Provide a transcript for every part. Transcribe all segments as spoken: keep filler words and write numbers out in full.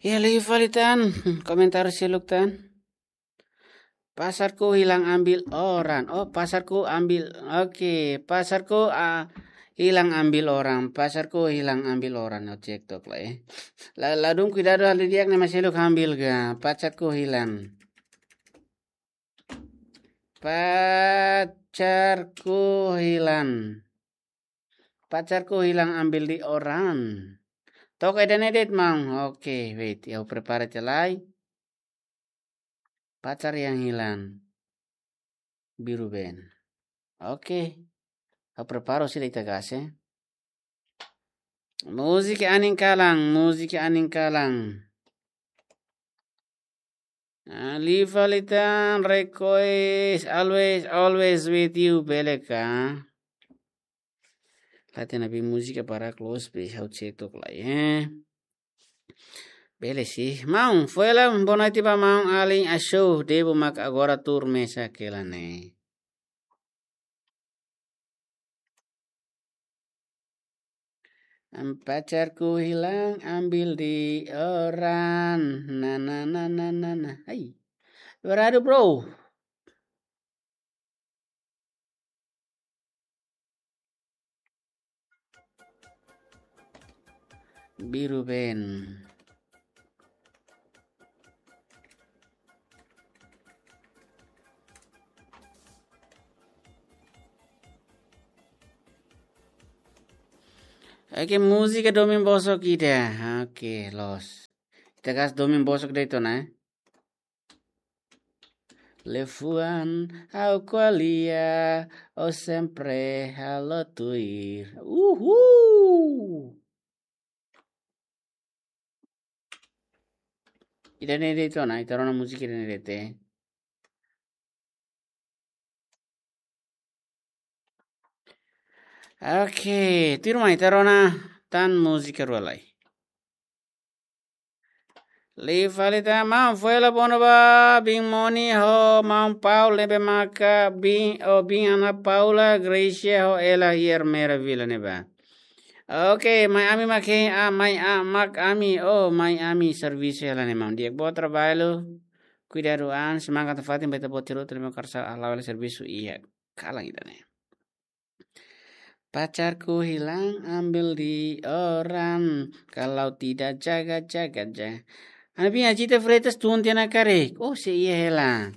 Ya, liu fali tan, komentar seluk tan. Pasarku hilang ambil orang. Oh, pasarku ambil. Oke, pasarku, ah, hilang ambil orang. Pasarku hilang ambil orang. Ha'u cek tok lai, eh. La, ladún kuidadu hal di'ak ne'e mak seluk ambil ka. Pasarku hilang. Pacarku hilang. Pacarku hilang ambil di orang. Toka ida-ne'e de'it maun. Oke, wait. Ha'u prepara tiha lai. Pacar yang hilang. Biru band. Oke. Ha'u prepara sira ita gas, eh. Múzika anin kalan, múzika anin kalan. Ah, liu fali tan request, always, always with you, bele ka? Late na bi múzika para close, please, ha'u cek tok lai, eh. Bele sih. Maun, foin hela, boa noite ba maun alin Asho, Debo mak agora tuur mesak hela ne'e. Am, pacarku hilang, ambil di orang. Na, na, na, na, na, na. Hai. Beradu, bro. Biru band. Oke, múzika domin bosok ida. Oke, loos. Ita gas domin bosok de'it ona, eh. Liafuan ha'u ko'alia, ó sempre halo tuir. Uhul! Ida-ne'e de'it ona, ita rona múzika ida-ne'e de'it, eh. Oke, tuirmai ita rona tan múzika rua lai. Liu fali tan, maun, foin hela bono ba, biin Moni ho, maun Paul ne'ebé maka, biin, oh, biin Ana Paula, Gracia ho, Ela Hier Mera Vila ne'ebá. Oke, mai ami mak hein, ah, mai, ah, mak ami, oh, mai ami servisu hela ne'e maun. Di'ak, boa traballu, kuidadu an, semangat nafatin ba ita-boot hotu ne'ebé karsa hala'o hela servisu iha kalan ida-ne'e. Pacarku hilang ambil di orang, kalau tidak jaga-jaga ja. Ana biin Ajita Freitas tun tiha ona karik. Oh, sei iha hela.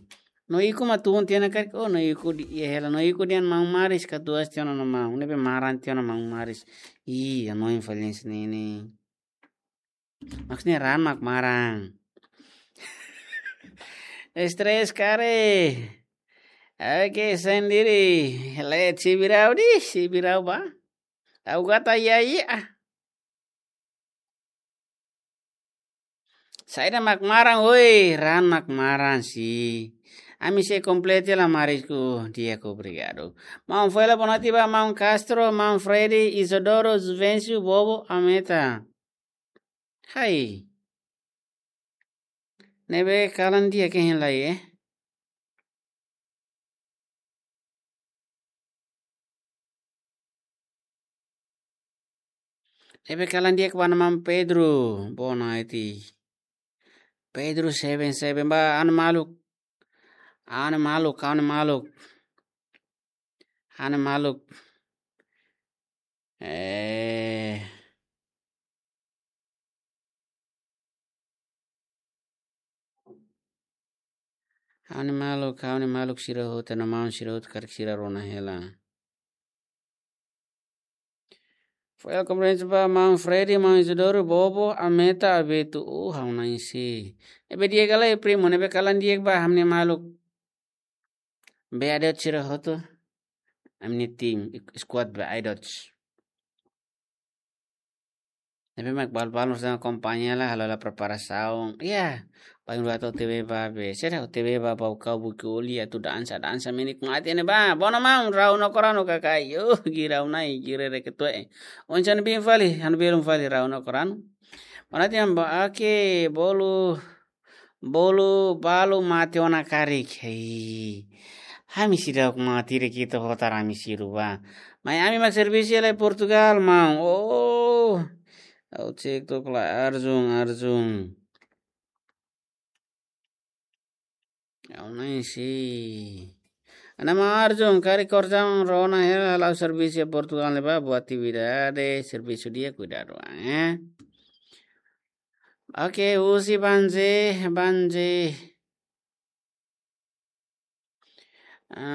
No iku mak tun tiha ona karik. Oh, no iku de'it iha hela. No iku dehan maun Maris katuas tiha ona no maun. Ne'ebé maran tiha ona maun Maris. Ih, hanoin fali hanesan ne'e. Maksudnya raan mak maran. Stres karik. Oke, sendiri. Let si birau di, si birau ba. Tahu kata ya, iya. Saida mak maran, woi, raan mak maran si. Ami sei kompleta la Marisku, di'ak, obrigadu. Maun foin hela boa noite ba, maun Castro, maun Freddy, Isidoro, Juvencio, Bobo, Ameta. Hai. Ne'ebé kalan di'ak hein lai, eh. Ne'ebé kalan di'ak ba maun Pedro, boa noite. Pedro seven seven ba, anu maluk. Anu maluk, anu maluk. Anu maluk. Eh. Anu maluk, anu maluk sira hotu, no maun sira hotu karik sira rona hela. Foin hela komprende ba maun Freddy, maun Isidoro, Bobo, Ameta, Abetu. Oh, ha'u na'in si. Ne'ebé di'ak ka lae, primo, ne'ebé kalan di'ak ba, ami-nia maluk. Be adot sira hotu. Ami-nia tim, squad be adot. Ne'ebé mak balu-balu sa akompaña la, halo la preparasaun. Iya, paling dua tau T V ba be. Sira T V ba, bau kau buki uli atu dansa, dansa menik mati ne'e ba. Bono maun, rau no koranu kakai. Yo, girau nai, girere ketue. Onsan bin fali, han belum fali, rau no koranu. Mana tiam ba, oke, bolu. Bolu balu mate ona karik. Hei. Ami seidauk mate de'it ita hotar ami sira ba. Mai ami mak servisu lai Portugal, maun. Oh. Ha'u cek tok lai Arjun, Arjun. Aun nai si. Ana Arjun, karik kor jam rona hela, halo servisu iha Portugal ne'ebá, buat atividade, servisu di'ak, kuidadu, eh. Oke, husi Banje, Banje.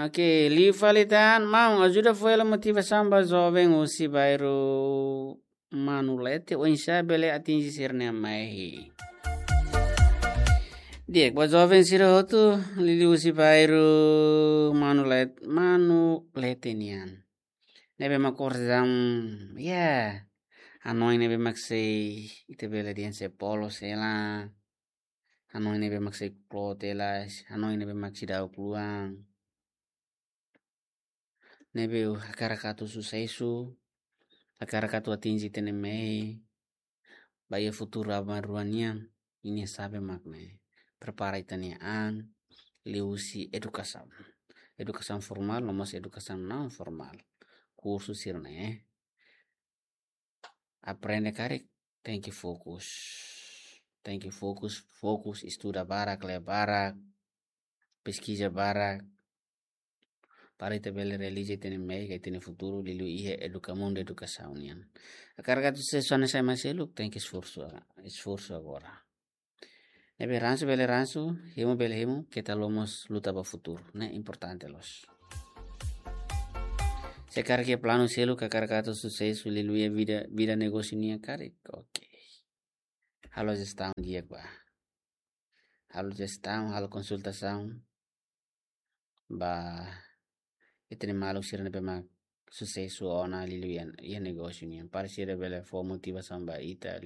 Oke, liu fali tan, maun, ajuda fó hela motivasaun ba joven husi bairru Manulete, oinsá bele atinje sira-nia mehi. Di'ak, ba joven sira hotu, liuliu husi bairru Manulet-, Manulete nian. Ne'ebé mak kor jam, ya. Hanoin ne'ebé mak sei, ita bele dehan sei polos hela. Hanoin ne'ebé mak sei kloot hela, hanoin ne'ebé mak seidauk luan. Ne'ebé hakarak atu susesu, hakarak atu atinje ita-nia mehi, ba iha futuru aban-bainrua nian, ita-nia xave mak ne'e. Prepara ita-nia an, liuhusi edukasaun. Edukasaun formál, no mós edukasaun naun formál. Kursu sira-ne'e. Aprende karik, tenke fokus. Tenke fokus, fokus, estuda barak, lee barak, peskiza barak. Para ita bele realiza ita-nia mehi, ita-nia futuru, liuliu iha eduka-, mundu edukasaun nian. Hakarak atu susesu hanesan ema seluk, tenke esforsu, esforsu agora. Ne'ebé ransu bele ransu, hemu bele hemu, keta haluha mós luta ba futuru, ne'e importante loos. Se karik iha planu seluk, hakarak atu susesu, liuliu iha vida, vida negósiu nian karik, oke. Halo jestaun di'ak ba. Halo jestaun, halo konsultasaun ba ita-nia maluk sira ne'ebé mak susesu ona liuliu iha, iha negósiu nian. Para sira bele fó motivasaun ba ita,